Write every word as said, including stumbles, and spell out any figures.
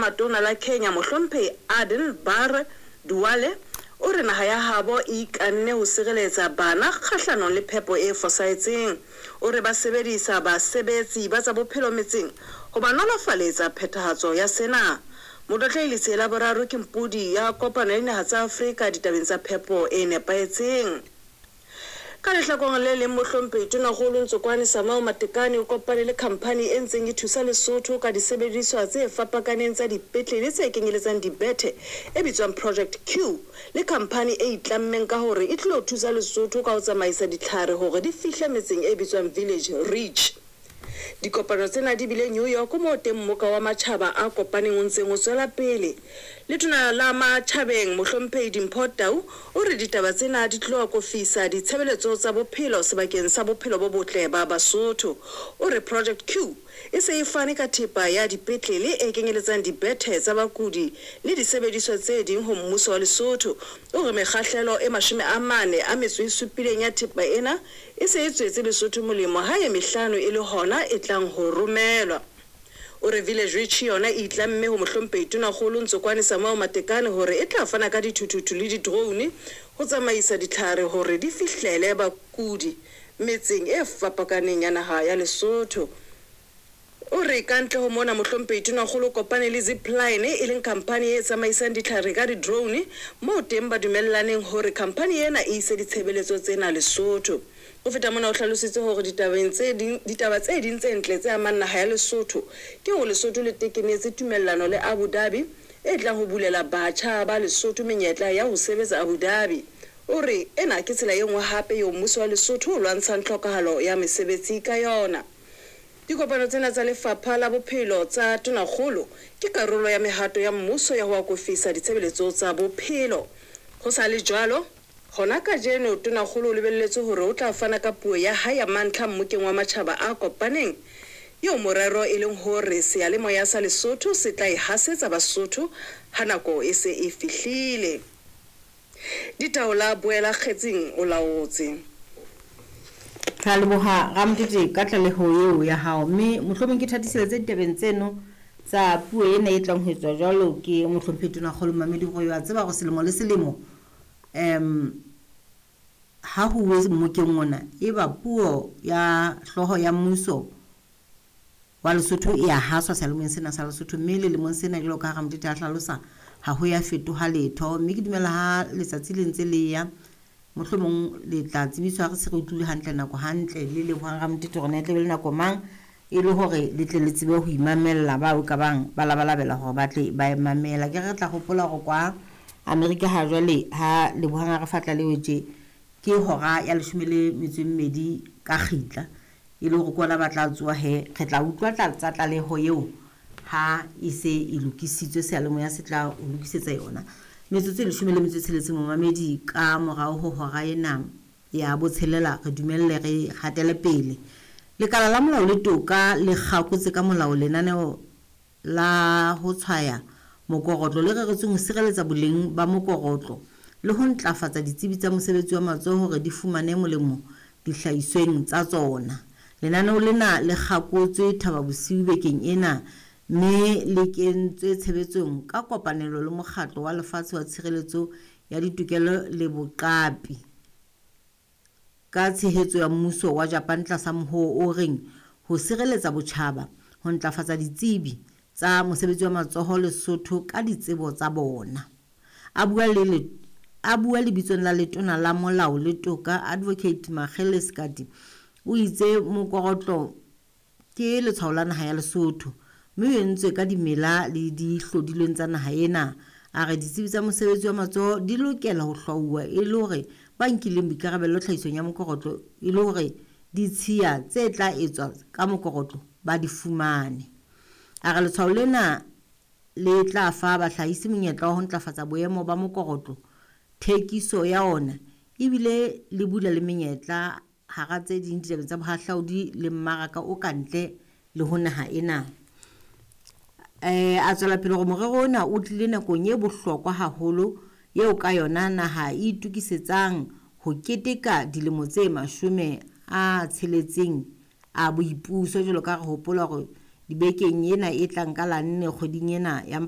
Matona la Kenya Mohlomphehi Aden Barre Duale o re naha ya habo e ikanne ho sireletsa bana kgahlanong le phepo e fosahetseng. O re ba sebedisa basebetsi ba tsa bophelo metseng ho ba nolofaletsa phethahatso ya sena. Motlotlehi Letsie la Boraro ke mpodi ya kopano ya dinaha tsa Afrika ditabeng tsa phepo e nepahetseng. Ka lehlakoreng le leng, Mohlomphehi Tonakgolo Ntsokoane Samuel Matekane o kopane le khamphani e ntseng e thusa Lesotho ka disebediswa tse fapakaneng tsa dipetlele tse kenyeletsang dibethe e bitswang Project Q le khamphani e itlammeng ka hore e tlilo thusa Lesotho ka ho tsamaisa ditlhare hore di fihle metseng e bitswang Village Reach. Dikopano tsena di bile New York moo teng mmoka wa matjhaba a kopaneng o ntseng o tswela pele. Letona la Matjhabeng Mohlomphehi Dimpho Tau o re ditaba tsena di tlo akofisa ditshebeletso tsa bophelo sebakeng sa bophelo bo botle ba Basotho. O re Project Q e se e fane ka thepa ya dipetlele e kenyeletsang dibethe tsa bakudi le disebediswa tse ding ho mmuso wa Lesotho. O re mekgahlelo e mashome a mane a metso e supileng ya thepa ena e se e tswetse Lesotho molemo ha e mehlano e le hona e tlang ho romelwa. O re Village Reach yona e itlamme ho Mohlomphehi Tonakgolo Ntsokoane Samuel Matekane hore e tla fana ka dithuthuthu le di-drone ho tsamaisa ditlhare hore di fihlele bakudi metseng e fapakaneng ya naha ya Lesotho. O re ka ntle ho mona Mohlomphehi Tonakgolo o kopane le Zipline e leng khamphani e tsamaisang ditlhare ka di-drone moo teng ba dumellaneng hore khamphani ena e ise ditshebeletso tsena Lesotho. Ho feta mona o hlalositse hore ditabeng tse ding ditaba tse ding tse ntle tse amang naha ya Lesotho ke hore Lesotho le tekenetse tumellano le Abu Dhabi e tlang ho bulela batjha ba Lesotho menyetla ya ho sebetsa Abu Dhabi. O re ena ke tsela e nngwe hape eo mmuso wa Lesotho o lwantshang tlhokahalo ya mesebetsi ka yona. Dikopano tsena tsa Lefapha la Bophelo tsa Tonakgolo ke karolo ya mehato ya mmuso ya ho akofisa ditshebeletso tsa bophelo. Ho sa le jwalo, hona kajeno Tonakgolo o lebelletswe hore o tla fana ka puo ya hae ya mantlha mmokeng wa matjhaba a kopaneng eo morero e leng hore seyalemoya sa Lesotho se tla e hasetsa Basotho ha nako e se e fihlile. Ditaola Boela Kgetsing o laotse. Re a leboha Ramotete ka tlaleho eo ya hao, mme mohlomong ke thatiseletse ditabeng tseno tsa puo ena e tlang ho etswa jwalo ke Mohlomphehi Tonakgolo Mamedi gore wa tseba gore selemo le selemo um ha ho uwe mmokeng ona e ba puo ya hlooho ya mmuso wa Lesotho e a haswa seyalemoyeng sena sa Lesotho, mme le lemong sena jwalo ka ha Ramotete a hlalosa ha ho ya fetoha letho, mme ke dumela ha letsatsi le ntse le ya mohlomong le tla tsebiswa re se re utlwile hantle nako hantle le lebohang Ramotete hore na e tla be le nako mang e le hore le tle le tsebe ho imamella bao ka bang ba labalabela hore ba tle ba e mamela. Ke re tla hopola hore kwa Amerika ha jwale ha lebohang a re fa tlaleho tje ke hora ya leshome le metso e mmedi ka kgitla e le hore ke ona ba tla tsoha he re tla utlwa tsa tlaleho eo ha e se e lokisitswe seyalemoya se tla o lokisetsa yona. Metsotso e leshome le metso e tsheletseng momamedi ka morao ho hora ena ya botshelela re dumelle re hatele pele. Lekala la Molao le Toka le kgakotse ka molao lenaneo la ho tshwaya mokorotlo le reretsweng ho sireletsa boleng ba mokorotlo le ho ntlafatsa ditsebi tsa mosebetsi wa matsoho hore di fumane molemo dihlahisweng tsa tsona. Lenaneo lena le kgakotswe Thaba Bosiu bekeng ena mme le kentswe tshebetsong ka kopanelo le Mokgatlo wa Lefatshe wa Tshireletso ya Ditokelo le Boqapi ka tshehetso ya mmuso wa Japan tlasa mohoo o reng ho sireletsa botjhaba, ho ntlafatsa ditsebi tsa mosebetsi wa matsoho Lesotho ka ditsebo tsa bona. A bua le a bua lebitsong la Letona la Molao le Toka Advocate Makgele Sekati o itse mokorotlo ke letshwao la naha ya Lesotho mme o entswe ka dimela le dihlodilweng tsa naha ena. A re ditsebi tsa mosebetsi wa matsoho di lokela ho hlwauwa e le hore ba nkileng boikarabello tlhahisong ya mokorotlo e le hore ditshiya tse tla etswa ka mokorotlo ba di fumane. A re letshwao lena le tla fa bahlahisi monyetla wa ho ntlafatsa boemo ba mokorotlo, thekiso ya ona ebile le bula le menyetla hara tse ding ditabeng tsa bohahlaudi le mmaraka o kantle le ho naha ena. Eh a tswela pele hore morero ona o tlile nakong e bohlokwa haholo eo ka yona naha e itokisetsang ho keteka dilemo tse mashome a tsheletseng a boipuso jwalo ka re hopola hore dibekeng ena e tlang ka la nne kgweding ena ya